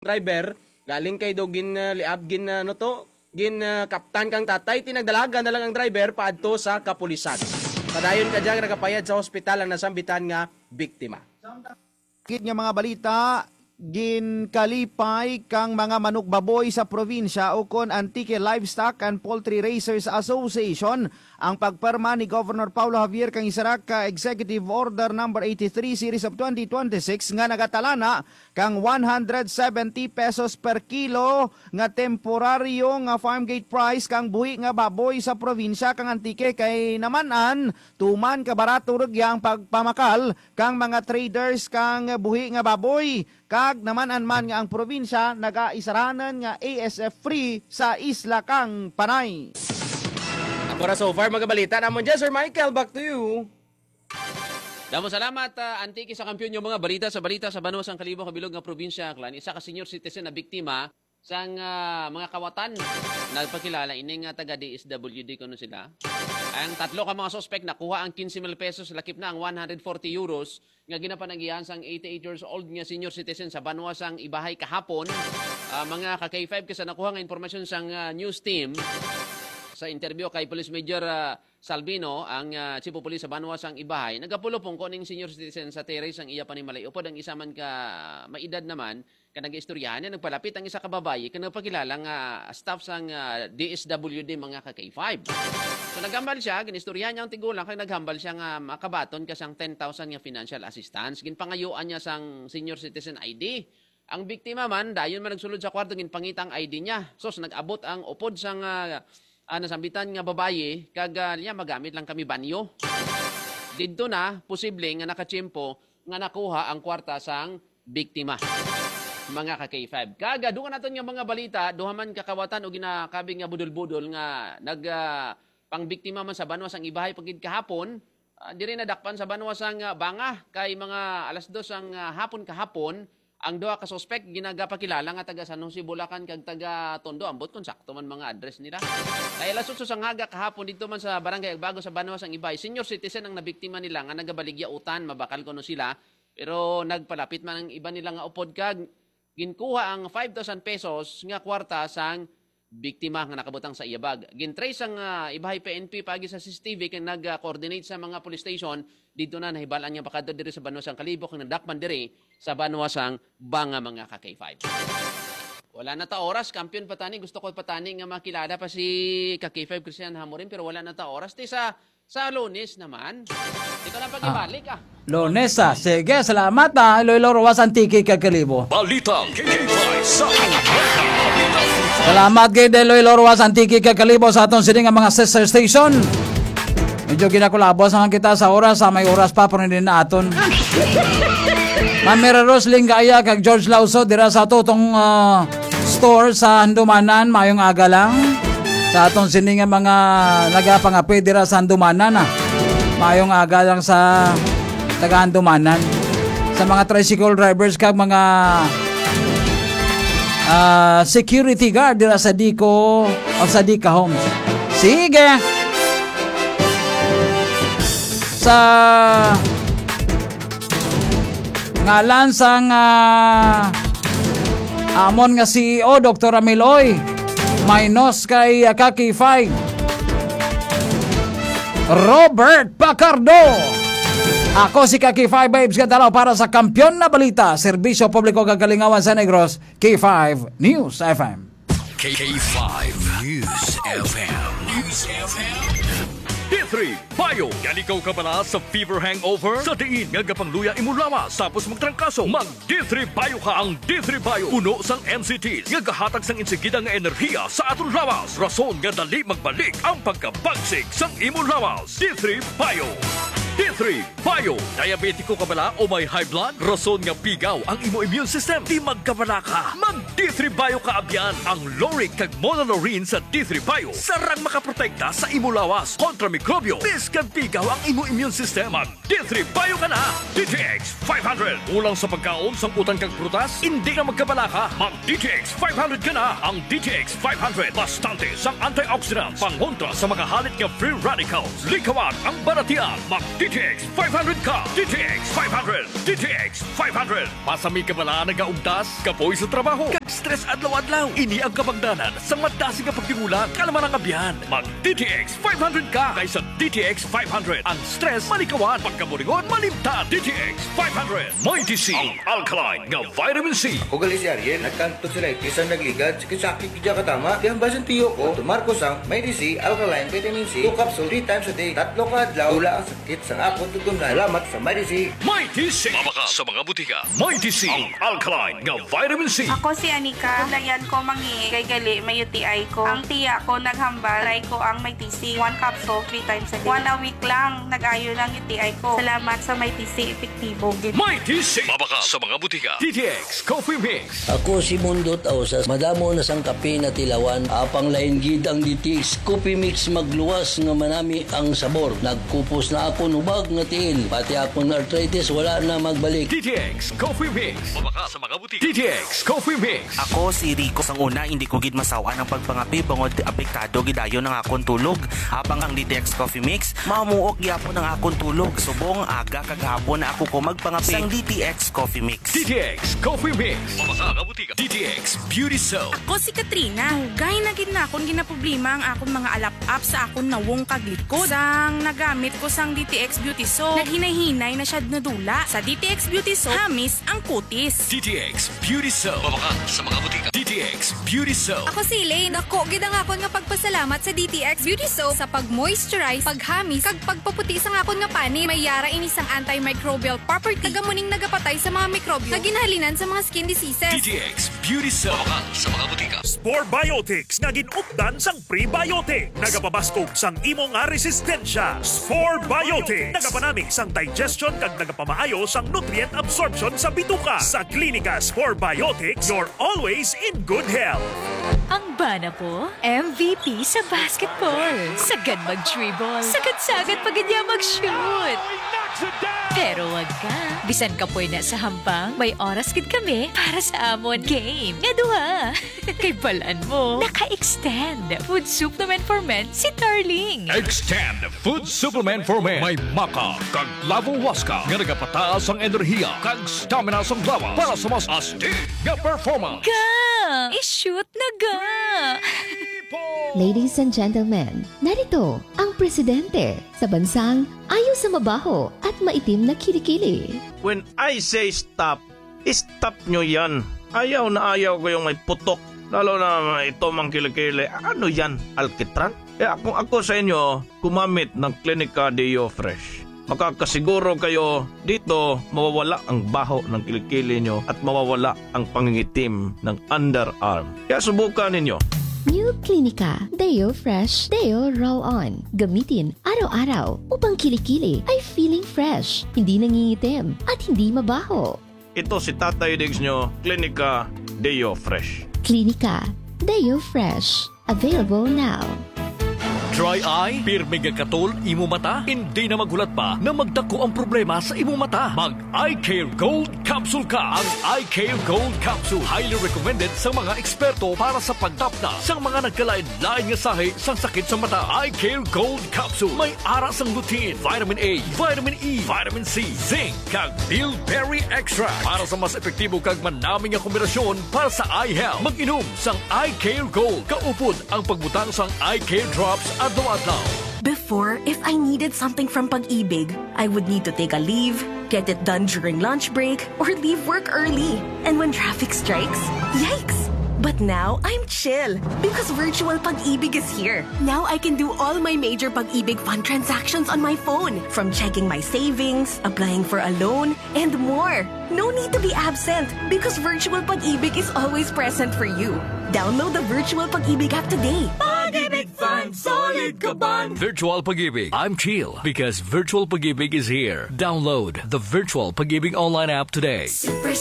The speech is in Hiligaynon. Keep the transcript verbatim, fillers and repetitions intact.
driver, galing kay do gin, ah, liab, gin, ah, ano to, gin, ah, kaptan kang tatay, tinagdalagan na lang ang driver paadto sa kapulisan. Padayon ka dyan, nagapayad sa hospital ang nasambitan nga biktima. Gid nga mga balita, ginkalipay kang mga manukbaboy sa probinsya ukon Antique Livestock and Poultry Raisers Association ang pagpirma ni Governor Paulo Javier kang isa ra ka Executive Order Number eighty-three Series of twenty twenty-six nga nagatalana kang one hundred seventy pesos per kilo nga temporaryo nga farm gate price kang buhi nga baboy sa probinsya kang Antique, kay naman-an tuman ka barato rugya ang pagpamakal kang mga traders kang buhi nga baboy, kag naman-an man nga ang probinsya nagaisaranan nga A S F free sa isla kang Panay. Ako ra so far, mga balita namon dyan, Sir Michael. Back to you. Damo salamat, ah, Antique, sa kampiyon yung mga balita sa balita sa banwa sang kalibo kabilog nga probinsya. Klan, isa ka senior citizen na biktima sang, ah, mga kawatan. Nagpakilala ini nga taga D S W D kuno sila. Ang tatlo ka mga suspek nakuha ang quince mil pesos, lakip na ang one hundred forty euros nga ginapanagihan sang eighty-eight years old nga senior citizen sa banwa sang Ibahay kahapon. Ah, mga ka K five, kay sa nakuha nga impormasyon sang, ah, news team, sa interview kay Police Major, ah, Salvino, ang, ah, chief of police sa banwa sang Ibahay, nagapulupong ko ning senior citizen sa terrace sang iya panimalay. Upod ang isa man ka maedad naman, ka nag-istoryahan niya, nagpalapit ang isa ka babayi kag nagpakilala nga staff sang, ah, D S W D, mga ka K five. So, naghambal siya, gin-istoryahan niya ang tigulang, kag naghambal siya nga makabaton ka sang ten thousand nga financial assistance. Ginpangayuan niya sang senior citizen I D. Ang biktima man, dayon man nagsulod sa kwarto, ginpangita ang I D niya. Sus, nag-abot ang upod sang, ah, ah, nasambitan nga babayi, kag, ah, niya, "Magamit lang kami banyo." Didto na, posible nga nakatiyempo nga nakuha ang kwarta sang biktima. Mga ka K five. Kag, ah, dungan naton nga mga balita, duha man ka kawatan o ginakabig nga budol-budol nga nag, ah, pangbiktima man sa banwa sang Ibahay pa gid kahapon, ah, diri nadakpan sa banwa sang, ah, Banga, kay mga alas dos ang, ah, hapon kahapon, ang duha ka suspek ginagapakilala nga taga San Jose, Bulacan, kag taga Tondo. Ambot kung sakto man mga address nila. Kay alas otso sang aga kahapon, dito man sa Barangay Agbago sa banwa sang Ibahay, senior citizen ang nabiktima nila nga nagabaligya utan, mabakal kuno sila. Pero nagpalapit man ang iba nila nga upod kag ginkuha ang five thousand pesos nga kwarta sang biktima nga nakabutang sa iya bag. Gintrace ang, ah, Ibahay P N P paagi sa C C T V kag nag-coordinate sa mga police station. Didto na nahibal-an nga pakadto diri sa banwa sang Kalibo kag nadakpan diri sa banwa sang Banga, mga ka K five. Wala na ta oras, kampiyon pa tani. Gusto ko pa tani nga makilala pa si ka K five Christian Hamorin, pero wala na ta oras. Ti sa, sa Lunes naman. Ito na pag-ibalik, ah. Lunes, ah. Sige, salamat, ah, Iloilo, Roxas, Antique, kag Kalibo. Balitang K K five sa Umaga. Salamat kay Iloilo, Roxas, Antique, kag Kalibo sa aton sini nga mga sister station. Medyo ginakulabos naman kita sa oras, ah, may oras pa, pero hindi na aton. Ma'am Mira Rose Lingaya kag George Lauso dira sa tutong, ah, store sa Handumanan. Mayong aga lang sa aton sini nga mga nagapangapit dira sa Handumanan, ah. Mayong aga lang sa taga Handumanan. Sa mga tricycle drivers kag mga, ah, security guard dira sa Dico o sa Dica Homes. Sige. Sa ngalan sang, ah, amon nga C E O, Doktor Amiloy, minus kay, ah, ka K five, Robert Pacardo. Ako si ka K five Babes Gadalaw para sa Kampiyon na Balita, Serbisyo Publiko kag Kalingawan sa Negros, K five News F M. K five News F M. News F M. D three Bio. Yan ikaw kabala sa fever hangover? Sa diin nga gapangluya imo lawas tapos magtrangkaso, mag D three Bio ka. Ang D three Bio puno sang N C Ts nga gahatag sang insigida nga enerhiya sa aton lawas, rason nga dali magbalik ang pagkabagsik sang imo lawas. D three Bio. D three Bio. Diabetiko ka bala o may high blood? Rason nga pigaw ang imo immune system. Di magkabala ka. Mag D three Bio ka abyan. Ang lauric kag monolaurin sa D three Bio sarang makaprotekta sa imo lawas kontra mikrobyo. Biskag pigaw ang imo immune system, mag D three Bio ka na. D T X five hundred. Kulang sa pagkaon, sangkutan kag prutas? Hindi na magkabala ka. Mag D T X five hundred ka na. Ang D T X five hundred bastante sang antioxidants pangontra sa mga halit nga free radicals. Likawan ang balatian. Mag D T X five hundred ka. D T X five hundred. D T X five hundred. Masami ka bala nagaugtas, kapoy sa trabaho, kag Stress adlaw-adlaw. Ini ang kabangdanan sa madasig nga pagtingulang. Kalma ang abyan. Mag D T X five hundred ka kaysa D T X five hundred. Ang stress malikawan, pagkaburingon malimtan. D T X five hundred. Mighty C, ang alkaline nga vitamin C. Ako gali si Ariel, nagkantod sa lightis ang nagligad, sakit-sakit gid katama. Kaya ang basin tiyo ko, tumar ko sang Mighty C alkaline vitamin C, two capsule, three times a day, tatlo ka adlaw, wala ang sakit sang akon tutunlan. Salamat sa Mighty C. Mighty C. Mabakal sa mga butika. Mighty C, ang alkaline nga vitamin C. Ako si Anika. Layan ko mangi kay gali may U T I ko. Ang tiya ko naghambal, try ko ang Mighty C. One capsule, three times a day. One a week lang, nag-ayo ng U T I ko. Salamat sa Mighty C, epektibo gid. Mighty C. Mabakal sa mga butika. D T X Coffee Mix. Ako si Mundo Tausas. Madamo na sang kape na tilawan. Apang lain gid ang D T X Coffee Mix, magluwas nga manami ang sabor. Nagkupos na akon hubag nga tiil. Pati akon arthritis wala na magbalik. D T X Coffee Mix. Mabakal sa mga butika. D T X Coffee Mix. Ako si Rico. Sang una, hindi ko gid masawan ang pagpangape bangod apektado gid dayon ang akon tulog. Apang ang D T X Coffee Mix, mamuok gyapon ang akon tulog. Subong aga kag hapon na ako ko magpangape sang D T X Coffee Mix. D T X Coffee Mix. Mabakal sa mga butika. D T X Beauty Soap. Ako si Katrina. Dugay na gid na akon ginaproblema ang akon mga alap-ap sa akon nawong kag likod. Sang nagamit ko sang D T X Beauty Soap, naghinay-hinay na siya nadula. Sa D T X Beauty Soap, hamis ang kutis. D T X Beauty Soap. Mabakal sa mga butika. D T X Beauty Soap. Ako si Elaine. Dako gid ang akon nga pagpasalamat sa D T X Beauty Soap sa pag-moisturize, paghamis, kag pagpaputi sang akon nga panit. May yara ini sang antimicrobial property, kag amo ning nagapatay sa mga mikrobyo nga ginahalinan sa mga skin diseases. D T X Beauty Soap. Mabakal sa mga butika. Spore Biotics nga gin-updan sang prebiotic. Nagapabaskog sang imo nga resistensya. Spore Biotics. Nagapanami sang digestion kag nagapamaayo sang nutrient absorption sa bituka. Sa Klinika Spore Biotics, you're always in good health. Ang bana ko, M V P sa basketball. Sagad mag-dribble. Sagad-sagad pa gid niya mag-shoot. Pero wag ka. Bisan kapoy na sa hampang, may oras gid kami para sa amon game nga duha. Kay balan mo, naka-extend Food Supplement for Men si Darling. Extend Food Supplement for Men. May maca kag lavowaska nga nagapataas ang enerhiya kag stamina sang lawas para sa mas astig nga performance. Ga! I-shoot na ga! Ladies and gentlemen, narito ang presidente sa bansang ayo sa mabaho at maitim na kilikili. When I say stop, stop nyo yan. Ayaw na ayaw ko yung may putok. Lalo na ito mang kilikili. Ano yan? Alkitran? Kaya kung ako sa inyo, gumamit ng Klinika Deo Fresh. Makakasiguro kayo dito mawawala ang baho ng kilikili nyo at mawawala ang pangingitim ng underarm. Kaya subukan ninyo. New Klinika Deo Fresh Deo Roll On. Gamitin araw-araw upang kilikili ay feeling fresh, hindi nangingitim, at hindi mabaho. Ito si Tatay Diggs nyo, Klinika Deo Fresh. Klinika Deo Fresh. Available now. Dry eye? Pirmi nga katol imo mata? Hindi na maghulat pa na magdako ang problema sa imo mata. Mag Eye Care Gold Capsule ka. Ang Eye Care Gold Capsule, highly recommended sa mga eksperto para sa pagtapna sa mga nagkalain-lain nga sahi sang sakit sa mata. Eye Care Gold Capsule may ara sang lutein, vitamin A, vitamin E, vitamin C, zinc, kag bilberry extract para sa mas epektibo kag manami nga kombinasyon para sa eye health. Mag-inom sang Eye Care Gold. Kaupod ang pagbutang sang Eye Care Drops adlaw-adlaw. Before, if I needed something from Pag-ibig, I would need to take a leave, get it done during lunch break, or leave work early. And when traffic strikes, yikes! But now, I'm chill because Virtual Pag-ibig is here. Now I can do all my major Pag-ibig Fund transactions on my phone, from checking my savings, applying for a loan, and more. No need to be absent because Virtual Pag-ibig is always present for you. Download the Virtual Pag-ibig app today. Pag-ibig Fund, solid kaban. Virtual Pag-ibig. I'm chill because Virtual Pag-ibig is here. Download the Virtual Pag-ibig online app today. Super